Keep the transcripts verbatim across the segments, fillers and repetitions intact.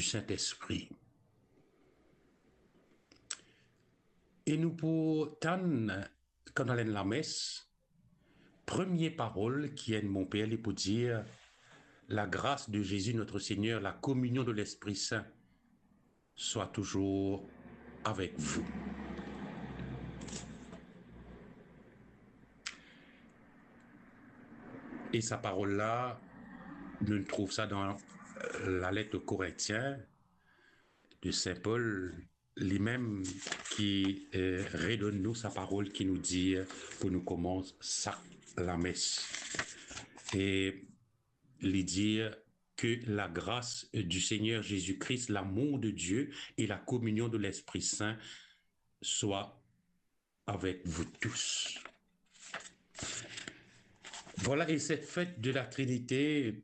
Sintespri. E nou pou tann, kan nou al enn lames, premie parol ki enn bonper li pou dir, "La grâce de Jésus notre Seigneur, la communion de l'Esprit Saint soit toujours avec vous." E sa parol la, nou trouv sa dan, euh, lalet o Korintien de Sin Pol, limem ki, euh, redonn nou sa parol ki nou dir pou nou koumans sak lames. E li dir, "Que la grâce du Seigneur Jésus-Christ, l'amour de Dieu et la communion de l'Esprit Saint soient avec vous tous." Voilà, et cette fête de la Trinité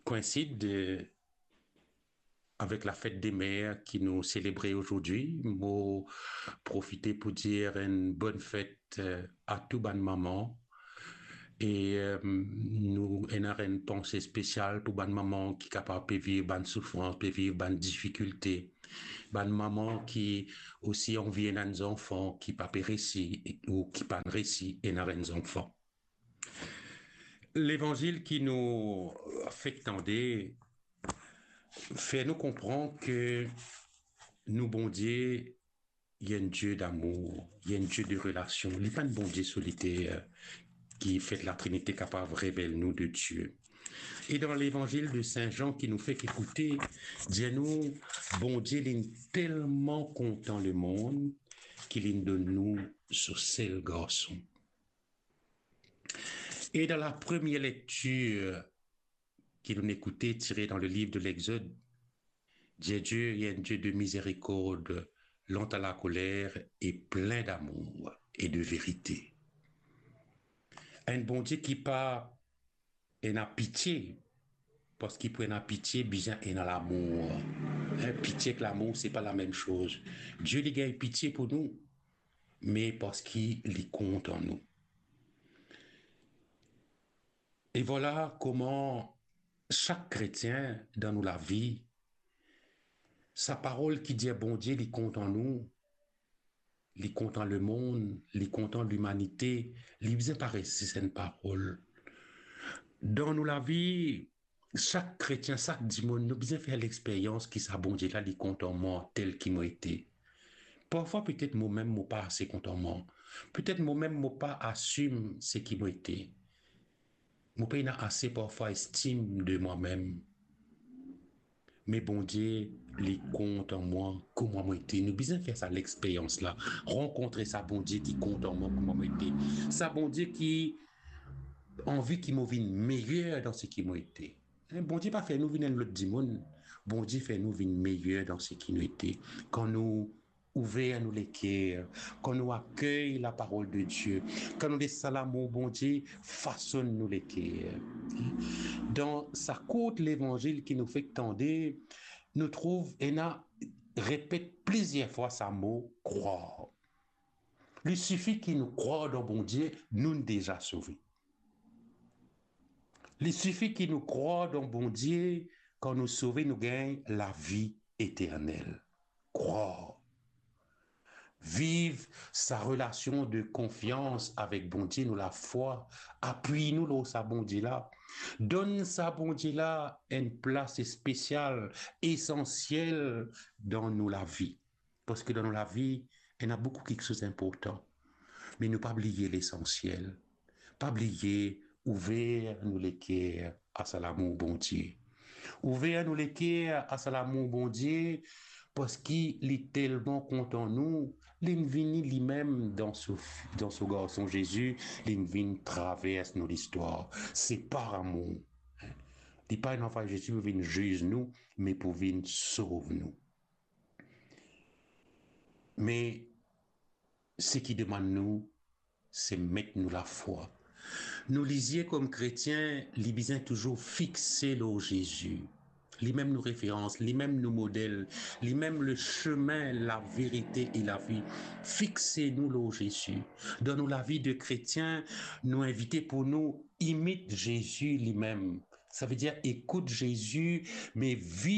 coïncide, euh, avec la fête des mères ki nou selebre azordi. Mo profite pou dir enn bonn fet, euh, a tou bann mama. E, euh, nou ena enn panse spesial pou bann mama ki kapav pe viv bann soufrans, pe viv bann difikilte. Bann mama ki osi anvi ena enn zanfan, ki pa pe resi ou ki pa'nn resi ena enn zanfan. Levanzil ki nou fek tande fer nou konpran ke nou Bondie, li enn Die damour, li enn Die de relasion. Li pa enn Bondie soliter ki fet Latrinite kapav revel nou de Die. E dan Levanzil de Sin Zan ki nou fek ekoute, dir nou, Bondie linn telman kontan lemond ki linn donn nou so sel Garson. E dan la premie lektir ki nou ekoute, tire dan le liv de Lexod, dir Die, li enn Die de mizerikord, lent a lakoler e plin damour e de verite. Enn Bondie ki pa ena pitie, parski pou ena pitie, bizin ena lamour. Hein, pitie ek lamour, se pa lamem soz. Die, li gagn pitie pou nou, me parski li kontan nou. E vwala kouma sak kretien dan nou lavi, sa parol ki dir Bondie li kontan nou, li kontan lemond, li kontan limanite, li bizin pa res zis enn parol. Dan nou lavi, sak kretien, sak dimoun, nou bizin fer lexperyans ki sa Bondie la, li kontan mwa tel ki mo ete. Parfwa, petet momem mo pa ase kontan mwa. Petet momem mo pa asim seki mo ete. Mo pena ase parfwa estim de mwa mem. Me Bondie, li kontan mwa kouma mo ete. Nou bizin fer sa lexperyans la, rankontre sa Bondie ki kontan mwa kouma mo ete. Sa Bondie ki anvi ki mo vinn meyer dan seki mo ete. Hein, Bondie pa fer nou vinn enn lot dimoun. Bondie fer nou vinn meyer dan seki nou ete. Kan nou ouver nou leker, kan nou akey laparol de Die, kan nou les sa lamour Bondie fasonn nou leker. Dan sa kourt levanzil ki nou fek tande, nou trouv ena repet plizier fwa sa mo krwar. Li sifi ki nou krwar dan Bondie, nou deza sove. Li sifi ki nou krwar dan Bondie, kan nou sove, nou gagn lavi eternel. Krwar. Viv sa relasion de konfians avek Bondie, nou lafwa, apiy nou lor sa Bondie la. Donn sa Bondie la enn plas espesial, esansiel dan nou lavi. Parski dan nou lavi, ena boukou kiksoz inportan. Me nou pa bliye lesansiel. Pa bliye ouver nou leker a sa lamour Bondie. Ouver nou leker a sa lamour Bondie, parski li telman kontan nou, linn vini limem dan so, dan so Garson Zezi, linn vinn travers nou listwar. Se par amour. Li pa ena anvoy Zezi pou vinn ziz nou, me pou vinn sov nou. Me seki demann nou, se met nou lafwa. Nou lizie kom kretien, li bizin touzour fixe lor Zezi. Limem nou referans, limem nou model, limem le chemin, la vérité et la vie. Fixe nou lor Zezi. Dan nou lavi de kretien, nou invite pou nou imit Zezi limem. Savedir ekout Zezi, me viv